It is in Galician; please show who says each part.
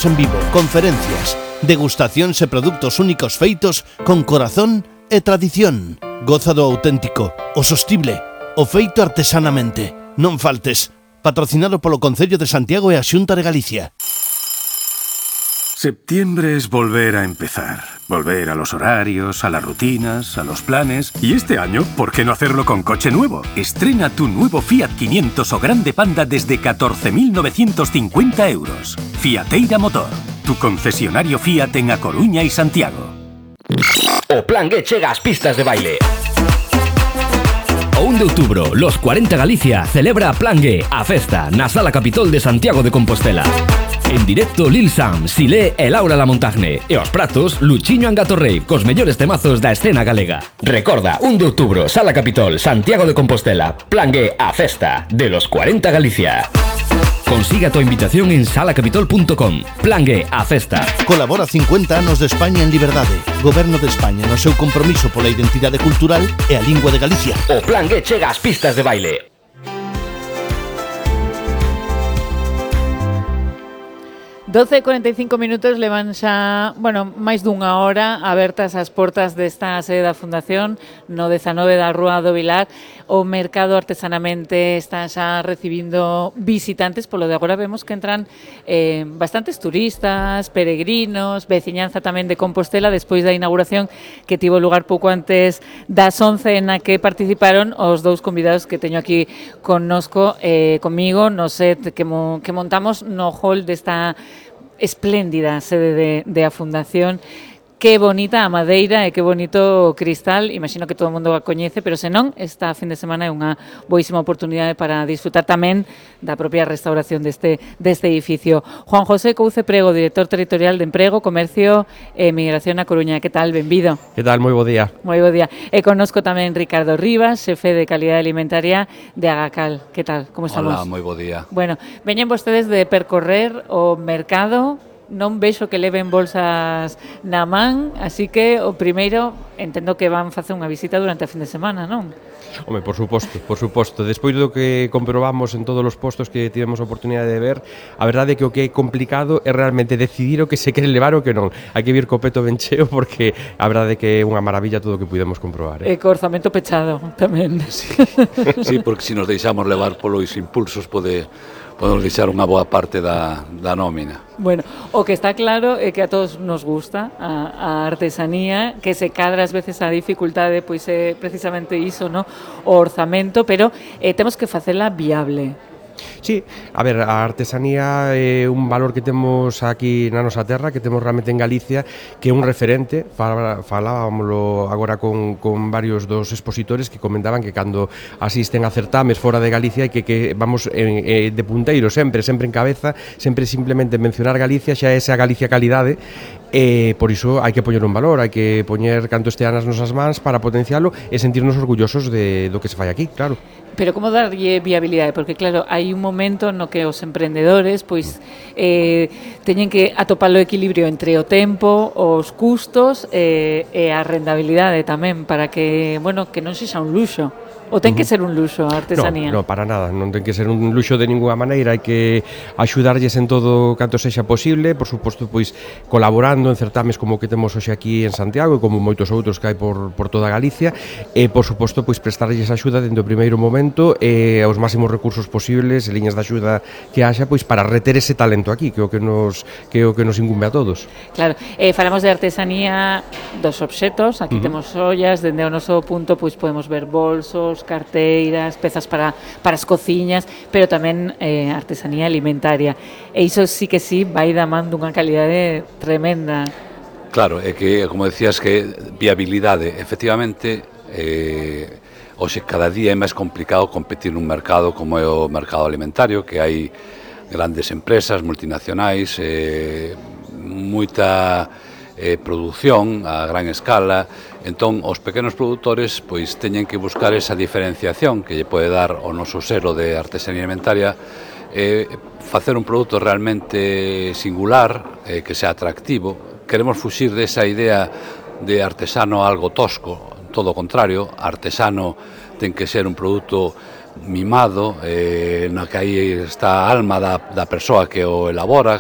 Speaker 1: en vivo, conferencias, degustacións e produtos únicos feitos con corazón e tradición. Goza do auténtico, o sostible, o feito artesanamente. Non faltes. Patrocinado polo Concello de Santiago e a Xunta de Galicia.
Speaker 2: Septiembre es volver a empezar. Volver a los horarios, a las rutinas, a los planes. Y este año, ¿por qué no hacerlo con coche nuevo? Estrena tu nuevo Fiat 500 o Grande Panda desde 14.950 euros. Fiateira Motor, tu concesionario Fiat en A Coruña y Santiago.
Speaker 3: O Plan G chega ás pistas de baile. O 1 de outubro, Los 40 Galicia celebra Plan G, a festa, na Sala Capitol de Santiago de Compostela. En directo Lil Sam, Silé e Laura Lamontagne. E aos pratos, Luchiño Angatorrey, cos mellores temazos da escena galega. Recorda, 1 de outubro, Sala Capitol, Santiago de Compostela. Plan G, a festa de Los 40 Galicia. Consiga tu invitación en salacapitol.com. Plan G, a festa.
Speaker 1: Colabora 50 anos de España en liberdade. Goberno de España no seu compromiso pola identidade cultural e a lingua de Galicia.
Speaker 3: O Plan G chega ás pistas de baile.
Speaker 4: 12:45 minutos levan xa, máis dunha hora abertas as portas desta sede da Fundación no 19 da Rúa do Vilar. O mercado artesanamente está xa recibindo visitantes, polo de agora vemos que entran bastantes turistas, peregrinos, veciñanza tamén de Compostela, despois da inauguración que tivo lugar pouco antes das 11 na que participaron os dous convidados que teño aquí connosco, comigo, no set que montamos no hall desta espléndida sede de a Fundación. Que bonita a madeira e que bonito o cristal. Imagino que todo o mundo a coñece, pero se non, esta fin de semana é unha boísima oportunidade para disfrutar tamén da propia restauración deste edificio. Juan José Couce Prego, director territorial de Emprego, Comercio e Migración a Coruña. Que tal? Benvido.
Speaker 5: Que tal? Moi bo día.
Speaker 4: Moi bo día. E connosco tamén Ricardo Rivas, xefe de Calidade Alimentaria de Agacal. Que tal? Como estamos?
Speaker 6: Hola, moi bo día.
Speaker 4: Bueno, veñen vostedes de percorrer o mercado. Non vexo que leven bolsas na man, así que o primeiro entendo que van facer unha visita durante a fin de semana, non?
Speaker 5: Home, por suposto. Despois do que comprobamos en todos os postos que tivemos a oportunidade de ver, a verdade é que o que é complicado é realmente decidir o que se quere levar ou que non. Hai que vir co peto ben cheo porque a verdade é que é unha maravilla todo o que pudemos comprobar.
Speaker 4: E co orzamento pechado tamén.
Speaker 6: Sí, porque se nos deixamos levar polos impulsos podemos deixar unha boa parte da nómina.
Speaker 4: Bueno, o que está claro é que a todos nos gusta a artesanía, que se cadra ás veces a dificultade, pois é precisamente iso, no? O orzamento, pero temos que facela viable.
Speaker 5: Sí, a ver, a artesanía é un valor que temos aquí na nosa terra, que temos realmente en Galicia, que é un referente. Falábamoslo agora con varios dos expositores que comentaban que cando asisten a certames fora de Galicia que vamos de punteiro sempre en cabeza, sempre simplemente mencionar Galicia xa é esa Galicia calidade. Por iso hai que poñer un valor, hai que poñer canto estea nas nosas mans para potencialo e sentirnos orgullosos do que se fai aquí, claro.
Speaker 4: Pero como darlle viabilidade? Porque claro, hai un momento no que os emprendedores pois teñen que atopar o equilibrio entre o tempo, os custos e a rentabilidade tamén para que, que non sexa un luxo. O ten que ser un luxo a artesanía?
Speaker 5: No, para nada, non ten que ser un luxo de ninguna maneira, hai que axudarlles en todo canto sexa posible, por suposto, pois colaborando en certames como o que temos hoxe aquí en Santiago e como moitos outros que hai por toda Galicia, e por suposto, pois prestarlles axuda dende o primeiro momento e aos máximos recursos posibles e liñas de axuda que haxa, pois para reter ese talento aquí, que é o que nos incumbe a todos.
Speaker 4: Claro, falamos de artesanía dos obxetos, aquí temos ollas, dende o noso punto pois podemos ver bolsos, carteiras, pezas para as cociñas, pero tamén artesanía alimentaria. E iso sí que vai da man dunha calidade tremenda.
Speaker 6: Claro, é que, como decías, que viabilidade, efectivamente, hoxe cada día é máis complicado competir nun mercado como é o mercado alimentario, que hai grandes empresas multinacionais, moita produción a gran escala. Entón, os pequenos produtores pois teñen que buscar esa diferenciación que lle pode dar o noso selo de artesanía alimentaria, facer un produto realmente singular, que sea atractivo. Queremos fuxir desa idea de artesano algo tosco, todo o contrario, artesano ten que ser un produto mimado, na que aí está a alma da persoa que o elabora